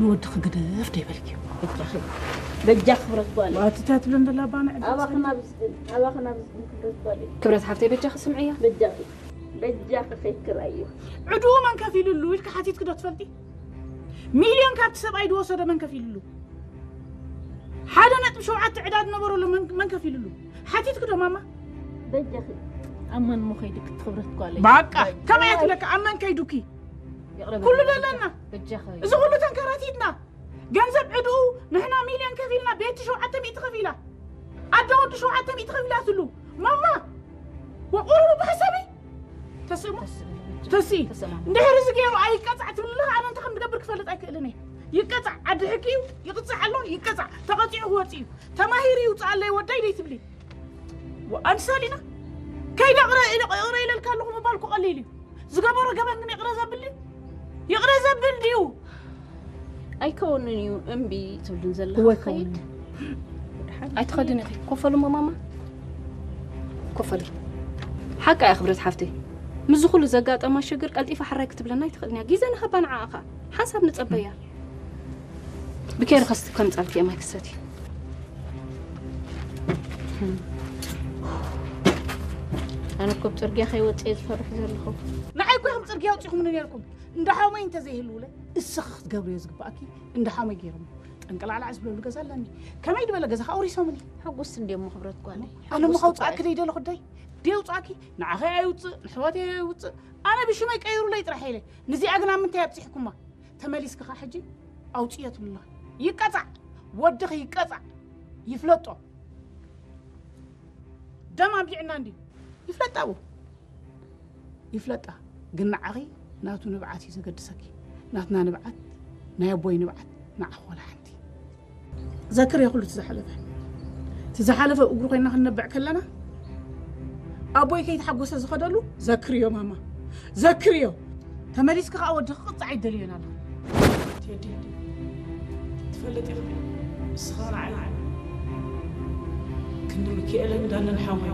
ንወድኺ ግደፍ ደይበልኪ። በጃኺ በጃኺ ክብረት ጓለይ ኣትታ ትብለን ደላ ባና ኣባኺ ናብ ዝግን ኣባኺ ናብ ዝግን ክብረት ጓለይ ክብረት ሓፍተይ በጃኺ ስምዕያ። በጃኺ በጃኺ ከይክራዩ ዕድኡ መን ከፊልሉ ኢልካ ሓቲትኪ ዶ ትፈልጢ? ሚልዮን ካብቲ ሰብኣይ ዝወሰዶ መን ከፊልሉ? ሓደ ነጥቢ ሸውዓተ ዕዳ ዝነበረሉ መን- መን ከፊልሉ? ሓቲትኪ ዶ ማማ? በጃኺ ኣብ መን ምኸይዱ ክትኽብረት ጓለይ ባቃ ከመይ ትብለካ ኣብ መን ከይዱኪ? ኩሉ ዘለና በጃኺ እዚ ኩሉ ተንከራቲትና ገንዘብ ዕድኡ ንሕና ሚልዮን ከፊልና ቤቲ ሸውዓተ ሚእቲ ከፊላ ኣደ ወዲ ሸውዓተ ሚእቲ ከፊላትሉ ማማ ወቁርቡ ብሓሳበይ ተስእሞ ተስኢ እንድሕር እዚ ገይሩ ኣይቀፃዕ ትብልለኻ ኣነ እንተ ከም ዝገብር ክፈልጥ ኣይክእልን እየ ይቀፃዕ ዓዲ ሕጊ እዩ ይቕፃዕ ኣሎ ይቀፃዕ ተቐፂዑ ክወፅ እዩ ተማሂሩ ይውፅእ ኣለይ ወዳይ ደይ ትብሊ ኣንሳሊና ከይደ ይቕረ ኢለልካ ኣለኹ ምባል ክቐሊል እዩ ዝገበሮ ገበን ግን ይቕረ ዘብል ድዩ ይቕረ ዘብል ድዩ ኣይከውንን እዩ እምቢ ትብልን ዘለኻ እወ ኸይድ ኣይትኸድን ኢኺ ኮፈሉ እሞ ማማ ኮፈሉ ሓቃ እያ ክብረት ሓፍተይ ምስዚ ኩሉ ዘጋጠማ ሽግር ቀልጢፋ ሓራይ ክትብለና ኣይትኽእልን እያ ግዜ ንሃባ ንዓኣ ኸዓ ሓንሳብ ንጸበያ ብኬሪ ከስቲ ከምጻልኪ እየ ማይ ክሰቲ ኣነ እኮ ብፅርግያ ከይወፅእ እየ ዝፈርሕ ዘለኹ ንዓይ እኮ ኢኹም ፅርግያ ኣውፂኹምኒ ነርኩም እንዳ ሓወመይ እንተዘይህልውለ እስኺ ክትገብርዮ ዝግባኣኪ እንዳ ሓወመይ ገይሮም ጠንቀላዕላዕ ዝብለሉ ገዛ ኣለኒ ከመይ ዝበለ ገዛ ከኣ ውሪሶምኒ ሕጉስ እንድየ እሞ ክብረት ጓለይ ኣነ እሞ ከውፅኣኪ ደይደለኹ ደይ ደይ ውፅኣኪ ንዓኸይ ኣይውፅእ ንሕዋተይ ኣይውፅእ ኣነ ብሽመይ ቀይሩለይ ጥራሕ ኢለ ንዚኣ ግን ኣብ ምንታይ ኣብፂሕኩማ ተመሊስኪ ከዓ ሕጂ ኣውፅዮ ትብልላ ይቀፃዕ ወድኺ ይቀፃዕ ይፍለጦ ደም ኣቢዕና እንድዩ ይፍለጣ እው ይፍለጣ ግን ንዓኺ ናቱ ንብዓት እዩ ዘገድሰኪ ናትና ንብዓት ናይ ኣቦይ ንብዓት ንዓኺ ዋላ ሓንቲ ዘክርዮ ኩሉ እቲ ዝሓለፈ እቲ ዝሓለፈ እግሩ ኮይና ክንነብዕ ከለና ኣቦይ ከይተሓጎሰ ዝኸደሉ ዘክርዮ ማማ ዘክርዮ ተመሊስኪ ከዓ ወድኺ ክቕፃዕ ይደልዮን ኣሎ ቴዲ ትፈልጥ ኢኻ እስኻ ንዓይ ክንዲ ሚካኤልን ዳንን ሓወይ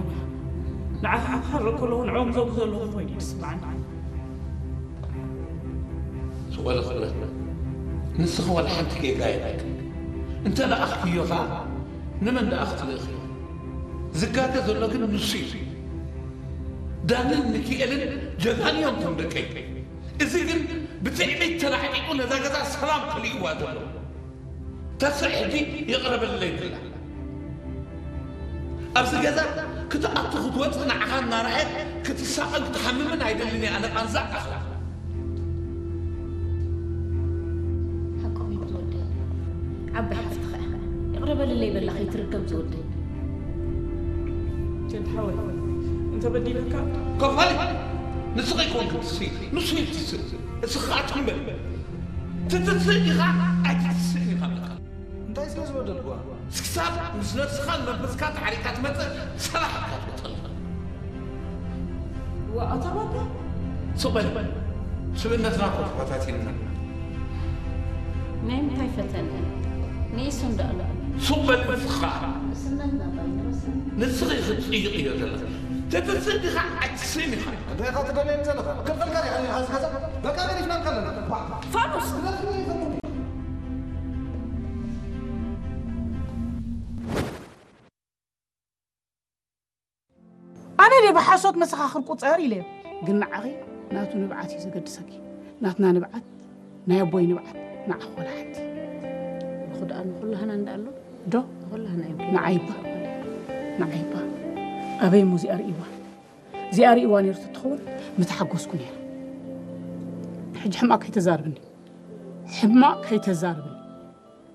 ንዓኻ ክሓርቕ ከለኹ ንዕኦም ዘጉ ዘለኹ ኮይኑ ይስምዓኒ ስቆለ ክብረት ንስኺ ዋላ ሓንቲ ጌጋ የብልክን እንተ ለኣኽክዮ ኸዓ ንመን ደኣ ክትልእኽዮ ዝጋገ ዘሎ ግን ንሱ እዩ ዳንን ሚካኤልን ጀጋኑ እዮም ከም ደቀይ እዚ ግን ብትዕቢት ተላዕጢቑ ነዛ ገዛ ሰላም ከሊእዋ ዘሎ ተስዕ ሕጂ ይቕረ በለለይ ብላ ኣብዚ ገዛ ክትኣቱ ክትወፅእ ንዓኻ እናረኣየት ክትሳቐን ክትሓምምን ኣይደልን እየ ኣነ ቃንዛ ኣኽላ ሓቆም እዩ ዝወደይ ዓባይ ሓፍትኻ ኢኻ ይቕረ በለለይ በላ ከይትርገም ዝወደይ ጀንት ሓወይ እንተ በዲለካ ከፋሊ ንስኺ ይኮንክ ትስኢ ንሱ እዩ ትስእ እስኻ ኣትኩምበል ትትስእ ኢኻ ኣይትትስእን ኢኻ በቃ እንታይ ስለ ዝበደልኩዋ ክሳብ ምስ ነብስኻን መንፈስካ ተሓሪካ ትመፅእ ሰላሕ ኢካ ትወፀልና ወኣታ ባባ ስቕ በል ስብእነትና እኮ ተፈታቲንና ናይ ምንታይ ፈተነ ንኢሱ እንዳእሎ ሱቕ በል ንስኻ እስነትና ባይነረስ ንስኺ ክትፅይቕ እዮ ዘለኻ ተትፅእ ዲኻ ኣይትስእን ኢኻ እንታይ ኢኻ ትደልየኒ ዘለኻ ክልፈልካ ዲኻ ዲኻ ዝገዛ በቃ ገዲፍና እንከለና ፋኑስ ኣነ ድየ ብሓሶት መሰኻኽር ቁፀር ኢለ ግን ንዓኺ ናቱ ንብዓት እዩ ዘገድሰኪ ናትና ንብዓት ናይ ኣቦይ ንብዓት ንዓኺ ወላ ሓንቲ ብኹ ደኣ ንኹላህና እንዳኣሎ ዶ ንኹላህና እዮም ንዓይባ ንዓይባ ኣበይ እሞ እዚኣ ርእይዋ እዚኣ ርእይዋ ነይሩ ተትኸውን ምተሓጎስኩ ነይረ ሕጂ ሕማቕ ከይተዛርብኒ ሕማቕ ከይተዛርብኒ